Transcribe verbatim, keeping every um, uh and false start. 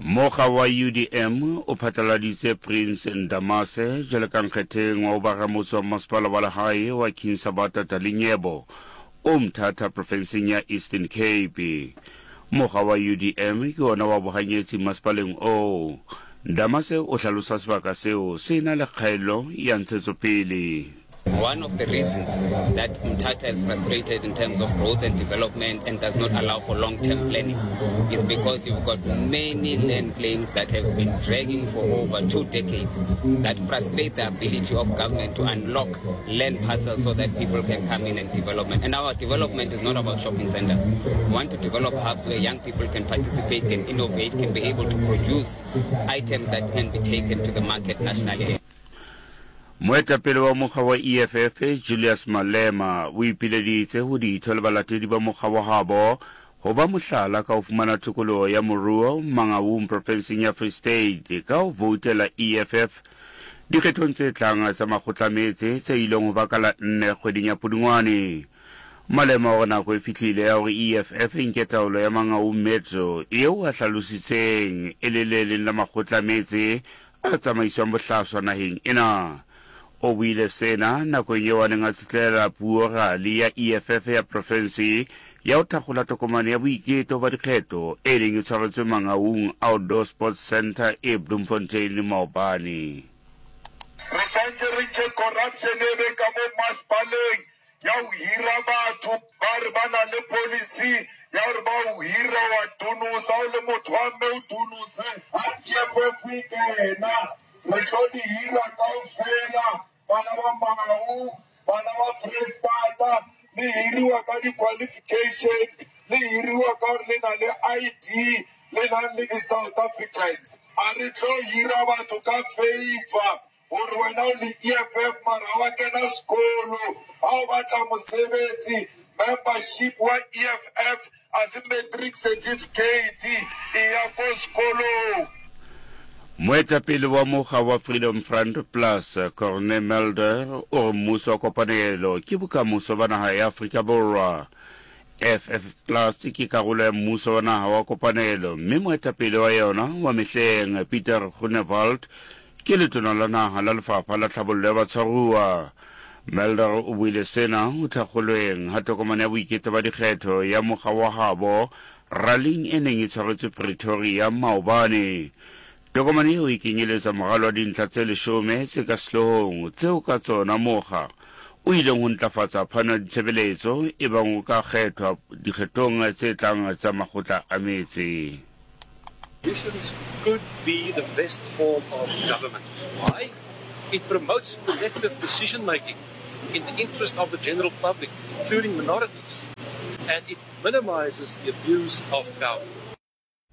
Mokga wa U D M o phatlaladitse Prince Ndamase jwalo ka nkgetheng wa ho ba ramotse wa masepala wa lehae wa King Sabata Dalindyebo o Mthatha profenseng ya Eastern Cape. Mokga wa U D M ke ona wa bohanyetsi masepaleng oo. Ndamase o hlalosa sebaka seo se na le kgaello ya ntshetsopele. One of the reasons that Mthatha is frustrated in terms of growth and development and does not allow for long-term planning is because you've got many land claims that have been dragging for over two decades that frustrate the ability of government to unlock land parcels so that people can come in and development. And our development is not about shopping centers. We want to develop hubs where young people can participate, can innovate, can be able to produce items that can be taken to the market nationally. Moetapele wa mokga wa E F F Julius Malema o ipileditse ho ditho le balatedi ba mokga wa habo ho ba mohlala ka ho fumana tokoloho ya moruo Mangaung profenseng ya Free State ka ho voutela E F F dikgethong tse tlang tsa makgotlametse tse ileng ho ba ka la nne kgweding ya Pudungwane. Malema o re nako e fihlile ya hore E F F e nke taolo ya Mangaung Metro eo a hlalositseng e le le leng la makgotlametse a tsamaiswang bohlaswa naheng ena. O buile sena nakong eo a neng a tsitlela puo rali ya E F F ya profense ya ho thakgola tokomane ya boiketo ba dikgetho e neng e tshwaretswe Mangaung Outdoor Sports Center e Bloemfontein maobane. Re santse re ntse corruption e be ka mo masepaleng ya ho hira batho ba re ba na le policy ya hore ba o hira wa tunosa o le motho wa mme o tunose. Ha E F F e kena re tlo di hira kaofela. Bana ba Mangaung, bana ba Freistata, le hiriwa ka di-qualification, le hiriwa ka hore le na le I D, le nang le di-South Africans. A re tlo hira batho ka favor hore wena o le E F F mara ha wa kena sekolo, ha o batla mosebetsi, membership wa E F F a se matric certificate e ya ko sekolong. Moetapele wa mokga wa Freedom Front Plus Corne Mulder o re mmuso wa kopanelo ke bokamoso ba naha ya Afrika Borwa. F F Plus ke karolo ya mmuso wa naha wa kopanelo mme moetapele wa yona wa mehleng Peter Groenewald ke letona la naha la lefapha la tlhabollo ya batshwaruwa. Mulder o buile sena ho thakgolweng ha tokomane ya boiketo ba dikgetho ya mokga wa habo rallying e neng e tshwaretswe Pretoria maobane. Tokomane eo e kenyeletsa moralo wa dintlha tse leshome tse ka sehloohong tseo ka tsona mokga o ileng ho ntlafatsa phano ya ditshebeletso ebang o ka kgethwa dikgethong tse tlang tsa makgotla a metse. Coalitions could be the best form of government. Why? It promotes collective decision making in the interest of the general public, including minorities, and it minimizes the abuse of power.